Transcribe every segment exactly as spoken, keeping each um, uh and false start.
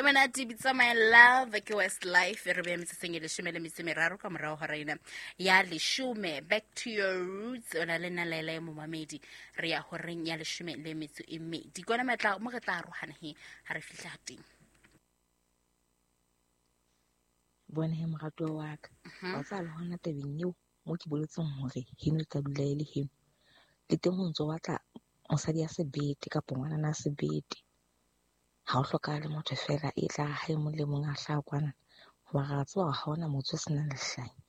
Monate bitsa My Love ke West Life. Re beya metsotsong e leshome le metso e meraro ka morago hora ena ya leshome. Back to your roots, o na le nna Laela e momamedi. Re ya horeng ya leshome le metso e mmedi, kona matla mo re tla arohana he ha re fihla teng. Bone he, moratuwa wa ka, wa tseba le hona tabeng eo mo ke boletseng hore heno e tla dula e le heno, le teng ho ntso batla mosadi ya sebete kapa ngwanana a sebete. Ha o hlokahale motho feela e tla ha e mong le mong a hlaha kwana, hoba re a tseba hore ha hona motho o senang lehlanya.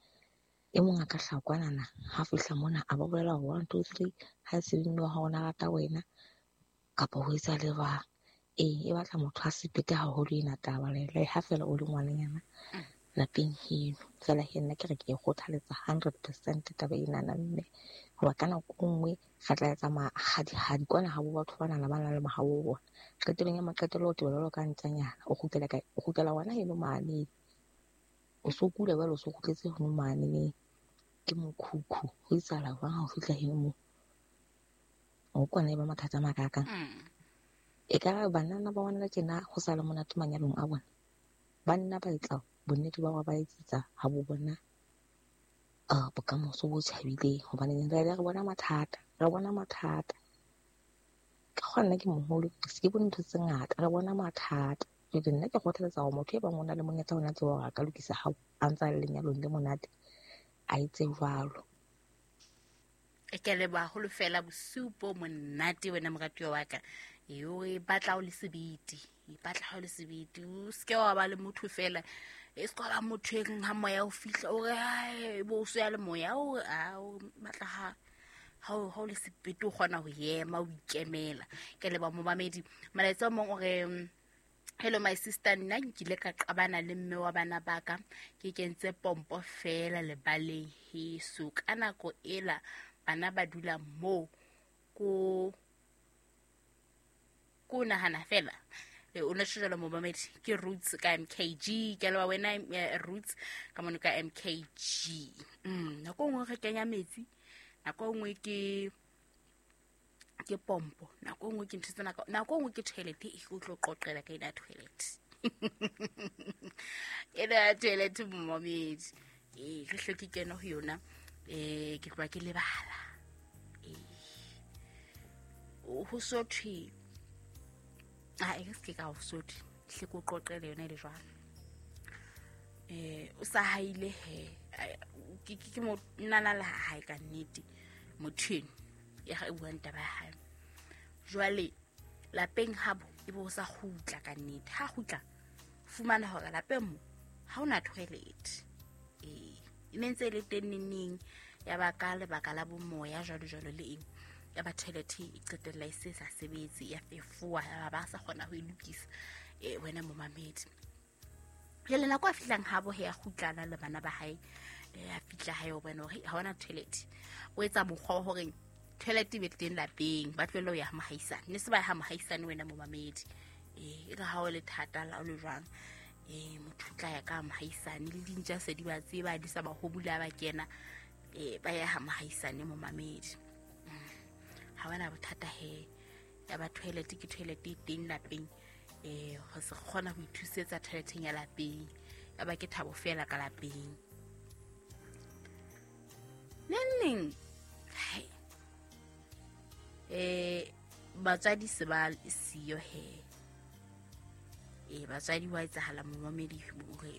E mong a ka hlaha kwanana, ha fihla mona a ba bolela hore one, two, three, ha e se le mme wa hao o na rata wena kapa ho etsa le jwang. Ee, e batla motho a sebete haholo ena taba le ha feela o le ngwananyana lapeng heno. Feela he nna ke re ke e kgothaletsa hundred percent taba enana mme, hoba ka nako e nngwe re tla etsa mahadihadi kwana habo batho banana ba nang le mahabo bona. Qetellong ya maqetello o tebela jwalo ka ntjanyana, o kgutlela kae? O kgutlela hona heno mane. O so kula jwale, o so kgutletse heno mane ke mokhukhu. Ho etsahala jwang ha o fihla heno moo? O kwana e ba mathata a makakang. Ekare banana ba bona tjena ho sa le monate manyalong a bona. Banna ba etsa bonnete ba hore ba etsetsa ha bo bona uh, bokamoso bo tjhabileng, hobane re re bona mathata, re bona mathata. Ka kgona nna ke moholo, se ke bone ntho tse ngata, re bona mathata. Jwale nna ke kgothaletsa hore motho e bang o na le monyetla ona tseba hore a ka lokisa hao a ntsa le lenyalong le monate, a etse jwalo. Ke a leboha haholo fela bosiu bo monate wena moratuwa wa ka. Eo e batla o le sebete, e batla ha o le sebete. O seke wa ba le motho fela, e se ka ba motho e reng ha moya o fihla o re ai bo o so ya le moya o a o batla ha ha o ha o le sebete o kgona ho ema o ikemela. Ke leboha momamedi. Molaetsa o mong o re, hello my sister, nna nkile ka qabana le mme wa bana ba ka, ke kentse pompo fela lebaleng heso. Ka nako ela bana ba dula moo ko ko nahana fela. E, o ne tjho jwalo momamedi, ke Roots ka M K G. Ke a leboha wena, eh, Roots ka mono ka M K G. Mm, nako e nngwe re kenya metsi, nako e nngwe ke ke pompo, nako e nngwe ke ntho tsena, nako e nngwe ke toilet. E ke tlo qoqela ka ena toilet. Ena ya toilet momamedi. Eh, ke hle ke kene ho yona. Eh, ke tloha ke lebala. Eh, ho so thwe, ah, e ke se ka ho so thwe, hle ke o qoqele yona e le jwalo. Eh, o sa haile he, ke, ke, ke mo nana le ha hae ka nnete, motho eno ya ga e buang taba ya hae. Jwale lapeng habo e bo sa kgutla ka nnete. Ha kgutla, fumana hore lapeng mo ha hona toilet. Eh, e ne ntse e le teng neneng, ya ba ka lebaka la bomoya jwalo jwalo le eng, ya ba toilet e qetella e se sa sebetse, ya fefowa, ya ba ba sa kgona ho e lokisa. Eh, wena momamedi. Jwale nako a fihlang habo he, a kgutlana le bana ba hae, eh, a fihla hae o bona hore ha hona toilet. O etsa mokgwa wa hore toilet e be teng lapeng, ba tlohelle ho ya ha mohaisane. Ne se ba ya ha mohaisane wena momamedi. Eh, e re ha o le thata la o le jwang, eh, motho o tla ya ka mohaisane, le dintja se di ba tseba, di sa ba hobula ba kena, eh, ba ya ha mohaisane momamedi. Mm. Ha bana bothata he, ya ba toilet ke toilet e teng lapeng, eh, ho se kgona ho ithusetsa toileteng ya lapeng, ya ba ke thabo fela ka lapeng. Neng neng, hai, eh, batswadi se ba siyo he. Eh, batswadi wa etsahala momamedi hore